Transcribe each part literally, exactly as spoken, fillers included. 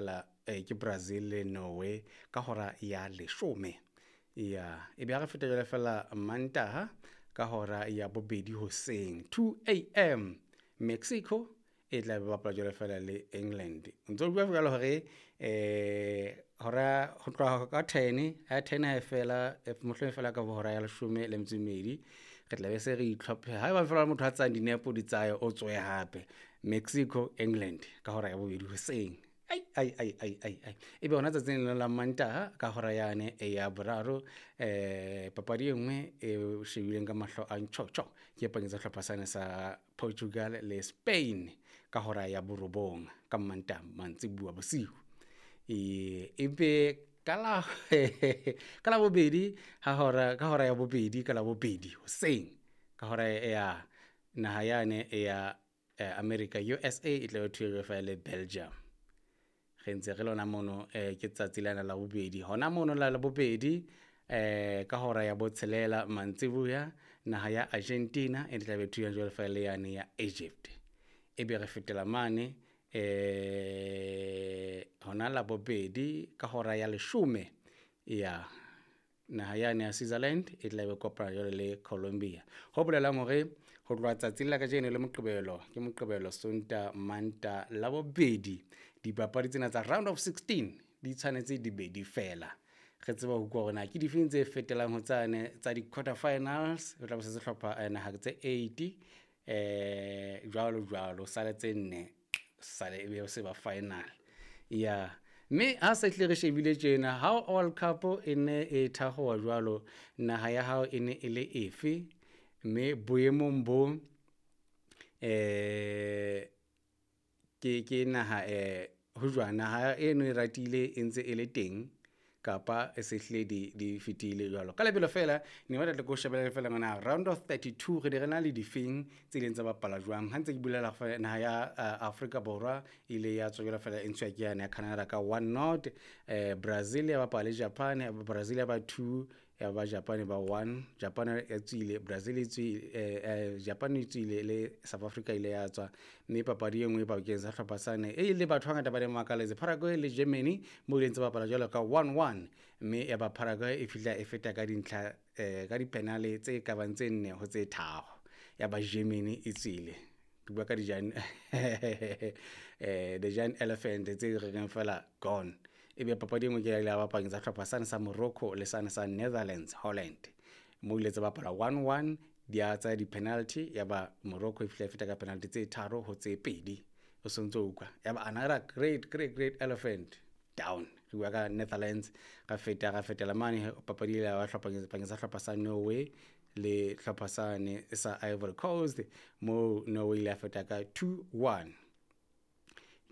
fela eh, ke Brazil le Norway ka hora ya leshome. Ya ebe ha re feta jwale fela Mantaha ka hora ya bobedi hoseng, two a m, Mexico e tla be bapala jwale fela le England. O ntso bua jwalo hore eh hora ho tloha ka ten, ha ten ha e fela, mohlomong fela ka hora ya leshome le metso e mmedi, re tla be se re itlhophe. Haeba fela motho a tsayang dinepo di tsaye, o tswe hape. Mexico England ka hora ya bobedi hoseng. Ai ai ai ai ai ai. Ebe hona tsatsing lena la Mantaha ka hora yane ya boraro, eh papadi e nngwe e shebileng ka mahlo a ntjhotjho ke e pakeng tsa sehlopha sane sa Portugal le Spain ka hora ya borobong ka Mantaha mantsibuya bosiu. E ebe ka la ka la bobedi ha hora ka hora ya bobedi ka la bobedi hoseng, ka hora ya naha yane ya America, U S A, e tla be thuwe fela le Belgium. Re ntse re lona mono, eh ke tsatsi lena la bobedi hona mono la bobedi, eh ka hora ya botshelela mantsibuya, naha ya Argentina e tla be thuwe jwalo fela le yane ya Egypt. Ebe re fetela mane eh hona la bobedi ka hora ya leshome, ya naha yane ya Switzerland e tla be kopana jwale le Colombia. Ho bolelang hore ho tloha tsatsing la kajeno le Moqebelo, ke Moqebelo, Sonta, Manta, la bobedi, dipapadi tsena tsa round of sixteen di tshwanetse di be di fela, re tseba ho utlwa hore na ke difeng tse fetelang ho tsane tsa di-quarter finals. Ho tla be se sehlopha naha tse eight, eh jwalo jwalo, sale tse nne, sale ebe se ba final ya. Mme ha se hle re shebile tjena, ha World Cup e ne e thakgowa jwalo, naha ya hao e ne e le efe? Mme boemong bo eh ke ke naha eh ho jwang, naha eno e ratile e ntse e le teng kapa e se hlile di di fetile jwalo ka lebelo fela? Ne batla tle ko shebele fela ngwana round of thirty-two, re ne re na le difeng tse ileng tsa bapala jwang. Ha ntse ke bulela, naha ya Afrika Borwa ile ya tswa jwalo fela e ntshuwa ke yane ya Canada ka one nought. eh Brazil ya bapala le Japan, Brazil ya ba two, ya ba Japan ba one. Japan ya tswile, Brazil e tswile, eh Japan e tswile le South Africa ile ya tswa. Mme papadi e nngwe pakeng sa hlopha sane e ile batho ba bangata ba ne makaletse, Paraguay le Germany, mo ileng tsa bapala jwalo ka one one, mme ya ba Paraguay e fihla e feta ka dintlha eh ka dipenale tse ka bang tse nne ho tse tharo, ya ba Germany e tswile. Ke bua ka di giant eh the giant elephant tse re reng fela gone. Ebe papadi e nngwe ke ya bapakeng tsa hlopha sane sa Morocco le sane sa Netherlands, Holland, mo ile tsa bapala one one, di a tsa di-penalty, ya ba Morocco e fihla e feta ka penalty tse tharo ho tse pedi. O sontso utlwa ya ba another great great great elephant down, re bua ka Netherlands. Ra feta, ra fetela mane, papadi ile ya ba pakeng tsa hlopha sa Norway le hlopha sane sa Ivory Coast, mo Norway ile ya feta ka two one.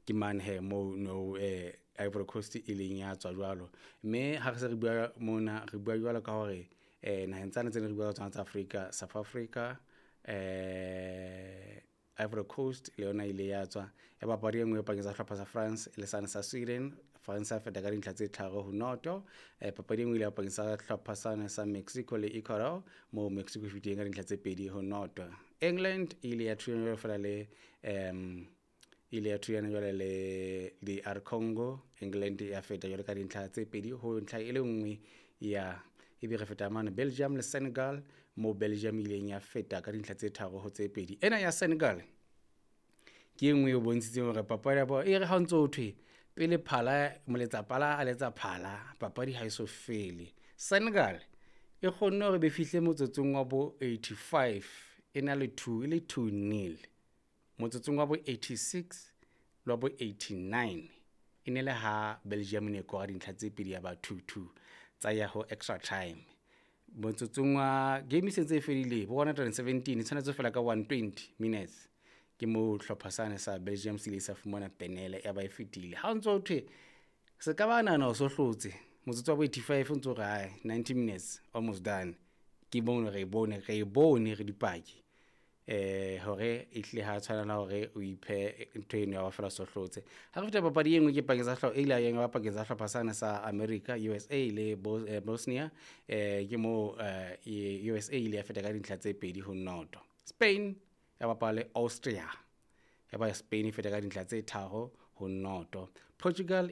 Ke mane he mo no eh, Ivory Coast e leng ya tswa jwalo. Mme ha re se re bua mona, re bua jwalo ka hore eh naheng tsane tse ne re bua ka tsona tsa Africa, South Africa, eh Ivory Coast le yona ile ya tswa. Ya papadi e nngwe pakeng tsa hlopha sa France le sane sa Sweden, France ya feta ka dintlha tse tharo ho noto. eh papadi e nngwe ile ya pakeng sa hlopha sane sa Mexico le Ecuador, mo Mexico e fetileng ka dintlha tse pedi ho noto. England ile ya thulana fela le um ile ya thulana jwale le D R Congo, England ya feta jwale ka dintlha tse pedi ho ntlha e le nngwe. Ya ebe re feta mane Belgium le Senegal, mo Belgium ileng ya feta ka dintlha tse tharo ho tse pedi. Ena ya Senegal ke e nngwe e bontshitseng hore papadi ya bona e re ha o ntso thwe pele phala moletsa pala a letsa phala, papadi ha e so fele. Senegal e kgonne hore be fihle motsotsong wa bo eighty-five e na le two, e le two nil. Motsotsong wa bo eighty-six le wa bo eighty-nine e ne le ha Belgium ne e kora dintlha tse pedi, ya ba two two, tsa ya ho extra time. Motsotsong wa game e sentse e fedile bo one hundred and seventeen, e tshwanetse fela ka one hundred and twenty minutes, ke moo hlopha sane sa Belgium se ile sa fumana penele, ya ba e fetile. Ha o ntso thwe se ka ba nahana o so hlotse motsotso wa bo eighty-five, o ntso re ai ninety minutes almost done, ke bone re e bone re e bone re dipaki eh hore e hlile ha tshwanela hore o iphe ntho eno ya ba fela so hlotse. Ha re feta, papadi e nngwe ke pakeng tsa hlopha e ile ya ba pakeng tsa hlopha sane sa America, U S A, le Bosnia, eh ke mo U S A ile ya feta ka dintlha tse pedi ho noto. Spain ya bapala le Austria, ya ba Spain e feta ka dintlha tse tharo ho noto. Portugal